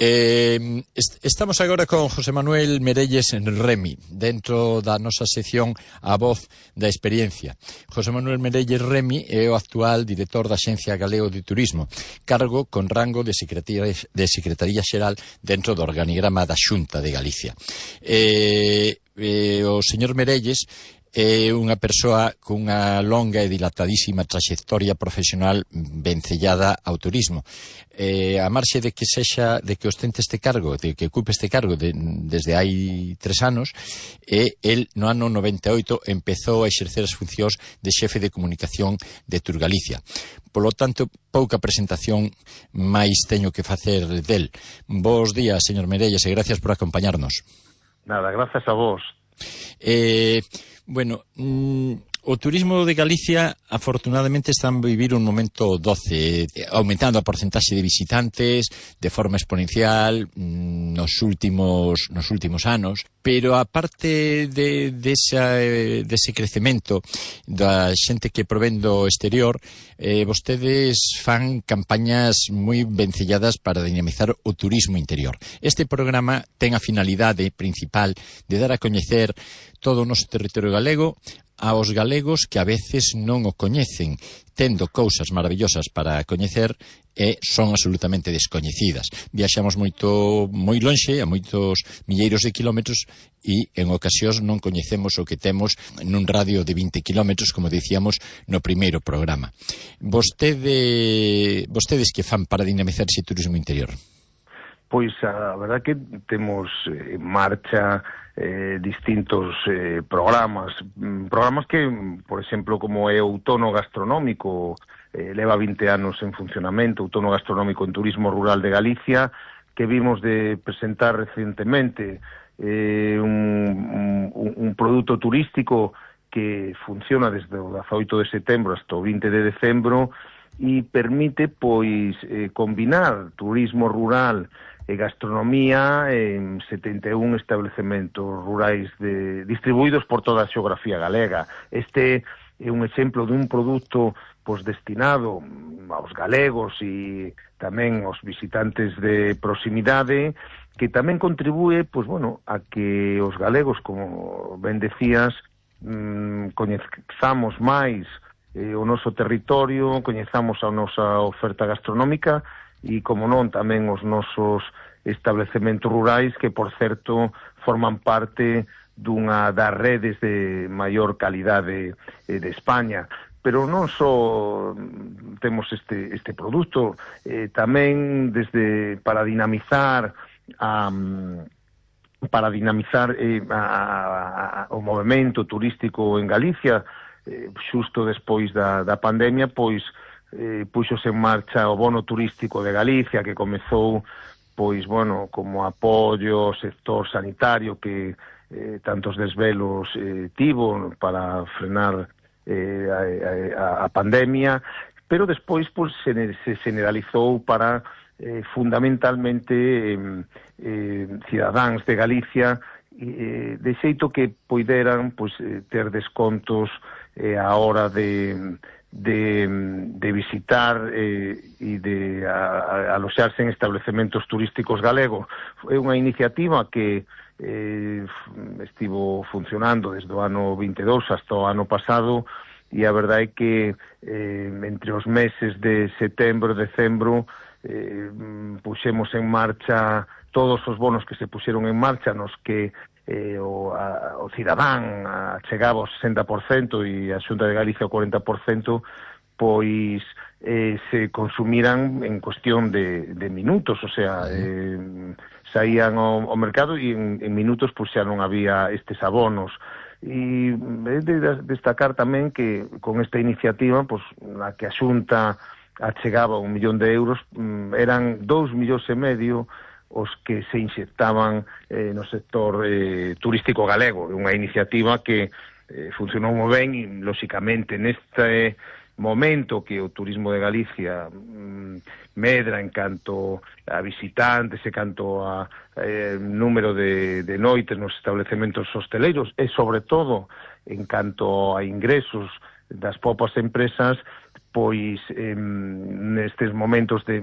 Estamos agora con José Manuel Merelles en Remi, dentro da nosa sección A Voz da Experiencia. José Manuel Merelles Remi é o actual director da Axencia Galego de Turismo, cargo con rango de Secretaría Xeral dentro do organigrama da Xunta de Galicia. O señor Merelles é unha persoa cunha longa e dilatadísima traxectoria profesional vencellada ao turismo. A marxe de que ostente este cargo, de que ocupe este cargo desde hai 3 anos, el no ano 98 empezou a exercer as funcións de xefe de comunicación de Turgalicia. Polo tanto, pouca presentación máis teño que facer del. Bos días, señor Merelles, e gracias por acompañarnos. Nada, gracias a vos. Bueno, o turismo de Galicia afortunadamente está a vivir un momento doce, aumentando a porcentaxe de visitantes de forma exponencial nos últimos anos, pero a parte dese crecemento da xente que provén do exterior, vostedes fan campañas moi vencelladas para dinamizar o turismo interior. Este programa ten a finalidade principal de dar a coñecer todo o noso territorio galego aos galegos que a veces non o coñecen, tendo cousas maravillosas para coñecer e son absolutamente descoñecidas. Viaxamos moi lonxe, a moitos milleiros de kilómetros, e en ocasións non coñecemos o que temos nun radio de 20 kilómetros, como dicíamos no primeiro programa. Vostedes que fan para dinamizar ese turismo interior? Pois a verdad que temos en marcha distintos programas que, por exemplo, como é o Outono Gastronómico, leva 20 anos en funcionamento, Outono Gastronómico en Turismo Rural de Galicia, que vimos de presentar recientemente un produto turístico que funciona desde o 18 de setembro hasta o 20 de decembro e permite, pois, combinar turismo rural e gastronomía en 71 estabelecementos rurais distribuídos por toda a xeografía galega. Este é un exemplo dun produto destinado aos galegos e tamén aos visitantes de proximidade, que tamén contribúe a que os galegos, como ben decías, coñezamos máis o noso territorio, coñezamos a nosa oferta gastronómica e, como non, tamén os nosos establecementos rurais, que, por certo, forman parte dunha das redes de maior calidade de España. Pero non só temos este produto, tamén para dinamizar o movemento turístico en Galicia, xusto despois da pandemia, pois puxose en marcha o bono turístico de Galicia, que comezou como apoio ao sector sanitario, que tantos desvelos tivo para frenar a pandemia, pero despois se generalizou para fundamentalmente cidadáns de Galicia, de xeito que poideran ter descontos a hora de visitar e de aloxarse en establecementos turísticos galegos. É unha iniciativa que estivo funcionando desde o ano 22 hasta o ano pasado, e a verdade é que entre os meses de setembro e decembro puxemos en marcha todos os bonos que se puxeron en marcha, nos que o cidadán chegaba ao 60% e a Xunta de Galicia ao 40%, pois se consumiran en cuestión de minutos, o sea, saían ao mercado e en minutos xa non había estes abonos. E é de destacar tamén que con esta iniciativa, na que a Xunta achegaba 1 millón de euros, eran 2,5 millóns os que se inxectaban no sector turístico galego. Unha iniciativa que funcionou moi ben e, lóxicamente, neste momento que o turismo de Galicia medra en canto a visitantes e canto a número de noites nos establecementos hosteleiros e, sobre todo, en canto a ingresos das propias empresas, pois nestes momentos de